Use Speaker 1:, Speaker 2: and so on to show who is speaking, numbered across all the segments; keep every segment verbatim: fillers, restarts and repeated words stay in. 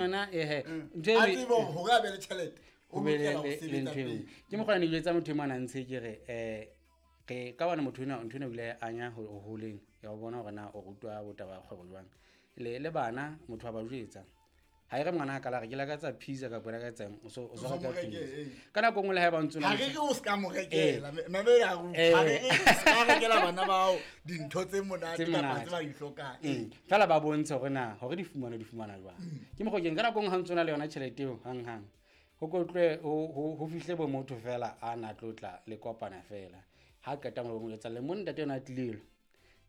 Speaker 1: Yona ehe ntho
Speaker 2: A
Speaker 1: e-
Speaker 2: tsebe hore hore a be le tjhelete, o
Speaker 1: ho be le
Speaker 2: lokela ho
Speaker 1: le- le
Speaker 2: sebetsa
Speaker 1: ntho eo.
Speaker 2: pele.
Speaker 1: Ke mokgwa ne jwetsa motho e mong a ntse ke re eh re ka bana motho ena ntho ena o ile a anya ho ho holeng ya ho bona hore na o rutwa botaba ya kgwebo jwang. Le le bana motho a ba jwetsa. Ha e re ngwana a kala re ke lakatsa pizza kapa lakatsa o so o
Speaker 2: O
Speaker 1: so
Speaker 2: so
Speaker 1: reka
Speaker 2: mo reke,
Speaker 1: pizza.
Speaker 2: ee.
Speaker 1: Ka nako e nngwe le haeba o ntso
Speaker 2: Ha
Speaker 1: na
Speaker 2: re
Speaker 1: le
Speaker 2: re o ska mo rekela,
Speaker 1: Eh.
Speaker 2: mamela ha re
Speaker 1: Eh.
Speaker 2: ha re re o ska rekela bana bao dintho tse monate
Speaker 1: Tse
Speaker 2: kapa
Speaker 1: monate.
Speaker 2: tse ba di hlokang.
Speaker 1: Mm. Fela ba bontshe hore na hore di fumana di fumana jwang. Ke mokgwa ke ka nako e nngwe ha ntso na le yona tjhelete eo hang hang. Ho kotlwe ho ho ho fihle bo motho fela a na tlotla le kopana fela. Ha qeta mo mo etsa le mo ntate yona a tlile.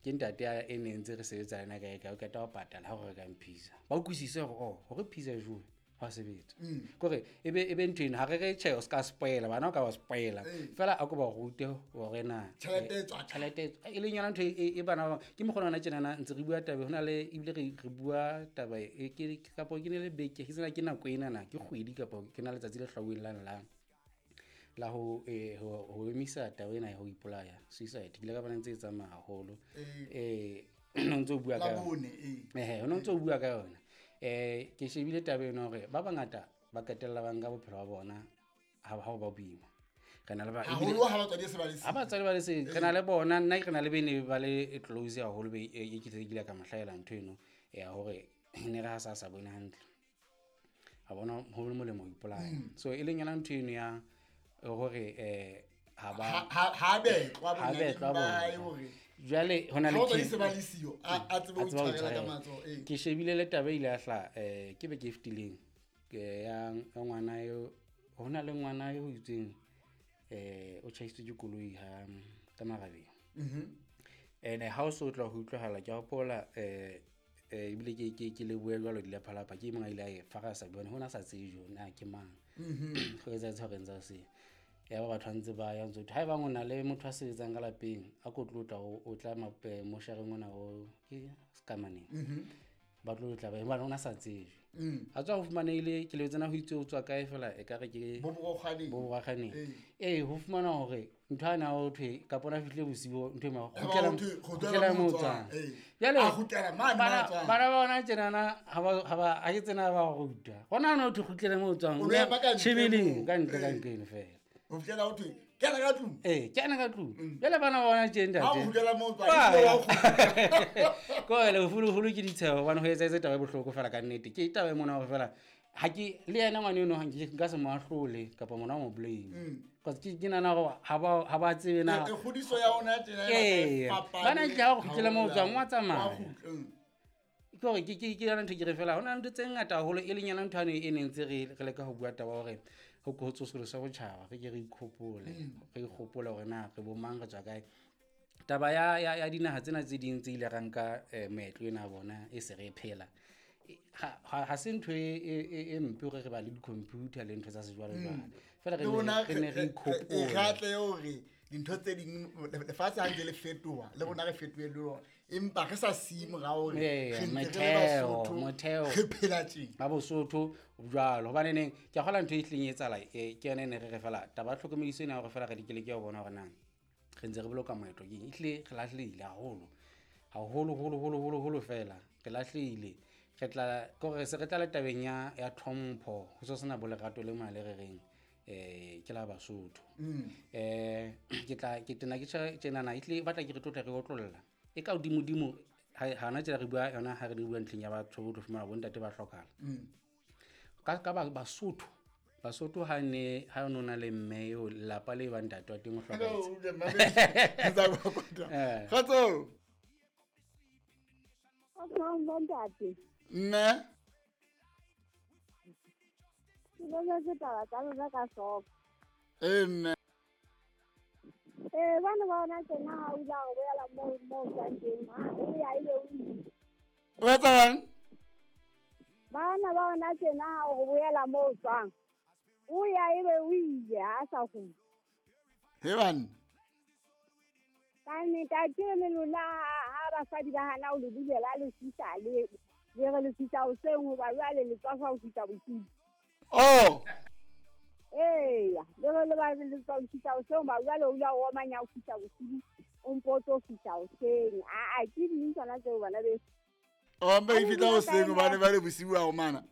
Speaker 1: Ke ntate a e ne ntse re sebetsa le yena kae kae o qeta ho patala ha o reka pizza. Ba utlwisise hore oh hore pizza e jowe hwa sebetsa. Kore e be e be ntho eno ha re re tjhe o ska spoila bana o ka ba spoila. Fela a ko ba rute hore na
Speaker 2: Tjhelete e tswa kae?
Speaker 1: tjhelete e tswa- e leng yona ntho e e bana ba ke mokgwa ona tjenana ntse re bua taba ho na le ebile re re bua taba e ke kapa ke ne le beke ke tsena ke nako ena na ke kgwedi kapa ke na letsatsi le hlwauweng la la la ho eh ho ho emisa taba ena ya ho ipolaya suicide ke ile ka bona ntse e tsamaya haholo eh no ntso bua ka
Speaker 2: La bone, ee.
Speaker 1: ehe ho no ntso bua ka yona eh ke shebile taba ena hore ba bangata ba qetella ba nka bophelo ba bona ha ha ba boima re na le ba ebile-
Speaker 2: Haholo ha batswadi se ba le
Speaker 1: ha
Speaker 2: siyo.
Speaker 1: batswadi ba le se re na le bona nna ke re na le bene ba le close haholo be e ke tle ke ile ka mo hlahela ntho eno ya hore ne re ha sa sa bone hantle a bona ho le molemo ho ipolaya so e leng yona ntho eno ya hore eh ha ba
Speaker 2: Ha- ha ha betlwa
Speaker 1: ha
Speaker 2: bonyane
Speaker 1: betlwa
Speaker 2: ba hae
Speaker 1: bona.
Speaker 2: hore
Speaker 1: Jwale ho na le
Speaker 2: ha batswadi
Speaker 1: ke-
Speaker 2: se ba le siyo, a a tsebe ho
Speaker 1: a tseba ho
Speaker 2: itshwarela ka
Speaker 1: itshwarela.
Speaker 2: matsoho, ee.
Speaker 1: Ke shebile le taba e ile ya hlaha eh ke beke e fetileng ke ya ya ngwana eo ho na le ngwana eo itseng eh o tjhaisitswe ke koloi ha ka marabeng. Ene ha o so tla ho utlwahala ke a hopola eh eh ebile ke ke ke lebohe jwalo dilephalapha ke e mong a ile a e farasa bone hona sa tsejwe na ke mang. Ho etsahetse hore ntse a se ya ba batho ba ntse ba ya ntse ha ebang o na le motho a sebetsang ka lapeng a ko tlo tla o o tla mape moshareng ona o ke sekamaneng. Ba tlo tla ba hobane ona sa tsejwe. A tswa ho fumanehile ke lebetse na ho itse o tswa kae fela e ka re ke
Speaker 2: Bo borokgwaneng.
Speaker 1: bo borokgwaneng.
Speaker 2: Ee.
Speaker 1: Ee ho fumana hore ntho ana o thwe kapa ona fihlile bosiu ntho e ma
Speaker 2: Eba
Speaker 1: kgutlela
Speaker 2: ho thwe,
Speaker 1: kgutlela
Speaker 2: kgutlela
Speaker 1: moo
Speaker 2: moo
Speaker 1: o tswang.
Speaker 2: tswang. Ee.
Speaker 1: Jwale
Speaker 2: A kgutlela mane
Speaker 1: bana
Speaker 2: moo a tswang.
Speaker 1: bana ba bona tjenana ha ba ha ba ha ke tsena ba ruta. Hona hona ho thwe kgutlela moo o tswang.
Speaker 2: O lo ema ka ntle
Speaker 1: Tjhebeleng,
Speaker 2: moo.
Speaker 1: ka ntle ka
Speaker 2: Ee.
Speaker 1: nqeno fela.
Speaker 2: Ho fihlela ho thwe, kena ka tlung.
Speaker 1: Ee, kena ka tlung. Jwale bana ba bona tje ntate.
Speaker 2: Ha o kgutlela moo o tswang,
Speaker 1: Wa
Speaker 2: ebile wa
Speaker 1: ya.
Speaker 2: kgutla.
Speaker 1: Ko le holo-holo ke ditsheho hobane ho etsahetse taba e bohloko fela ka nnete. Ke taba e mona hore fela ha ke le yena ngwana eno ha nke nka se mo ahlole kapa mona mo blame. Because ke ke nahana hore ha ba ha ba tsebe na.
Speaker 2: E, e kgodiso ya ona tjena e batla e
Speaker 1: Ee.
Speaker 2: fapane
Speaker 1: Bana ntle ha o kgutlela moo o tswang, wa
Speaker 2: Wa
Speaker 1: tsamaya.
Speaker 2: kgutla, mm.
Speaker 1: Ke hore ke ke ke yona ntho ke re fela ho na le ntho tse ngata haholo e leng yona ntho yane e neng ntse re re leka ho bua taba hore ho ho tsosoloswe botjhaba re ke re ikhopole re ikgopole hore na re bo mang re tswa kae. Taba ya ya ya dinaha tsena tse ding tse ile ra nka eh, meetlo ena ya bona e se re e phela. E, ha ha ha se ntho e e e- e mpe hore re ba le di-computer le ntho tsa sejwalejwale. Fela re
Speaker 2: Le
Speaker 1: ne
Speaker 2: rona
Speaker 1: re ne re
Speaker 2: re- re-
Speaker 1: ikhopole.
Speaker 2: re atle hore dintho tse ding lefatshe ha ntse le fetoha le rona re fetohe le lona empa re sa siye morao hore
Speaker 1: Ee,
Speaker 2: re ntse re le
Speaker 1: motheo,
Speaker 2: Basotho,
Speaker 1: motheo.
Speaker 2: re phela tje.
Speaker 1: Ba Bosotho jwalo hobane neng ke a kgolwa ntho e hlileng e etsahala eh, ke yona e ne re re fela taba ya tlhokomediso ena ya hore fela re di ke ho bona hore na re ntse re boloka moetlo ke eng. Ehlile re lahlehile haholo haholo holo holo holo holo fela re lahlehile re tla ke hore se re tla le tabeng ya ya tlhompho ho so sena bo lerato le mona le re reng eh ke la Basotho. Eh ke tla ke tena ke tjha tjenana ehlile e batla ke re tlotla re otlolla e ka hodimodimo ha hana tjena re bua yona ha re bua ntlheng ya batho o tlo fumana bo ntate ba hlokahala. Ka ka ba Basotho Basotho ha ne ha no na le mme eo lelapa le ba ntate wa teng o hlokahetse. Eh.
Speaker 2: Kgotso.
Speaker 3: Kgotsong bo ntate.
Speaker 2: Mme.
Speaker 3: Ke mametse taba tsa lona ka hloko.
Speaker 2: Ee, mme.
Speaker 3: Ee, bana ba hona tjena ha o ile a re boela moo moo o tswang teng, ha o ya ebe o ile.
Speaker 2: O etsa eng?
Speaker 3: Bana ba hona tjena ha o re boela moo o tswang, o ya ebe o ile ha a sa kgutle.
Speaker 2: He banna.
Speaker 3: Ka nnete, akere le lona ha ha basadi ba hana ho le bulela le fihla le le re le fihla hoseng hoba jwale le tswafa ho fihla bosiu.
Speaker 2: Oh.
Speaker 3: Eya, le re le ba le tswa ho fihla hoseng hoba jwale o ile wa omanya ho fihla bosiu, o mpo o tlo fihla hoseng. Aa, ke ding tsona tseo bana beso.
Speaker 2: O mpa e fihla hoseng hobane ba le bosiu ha omana.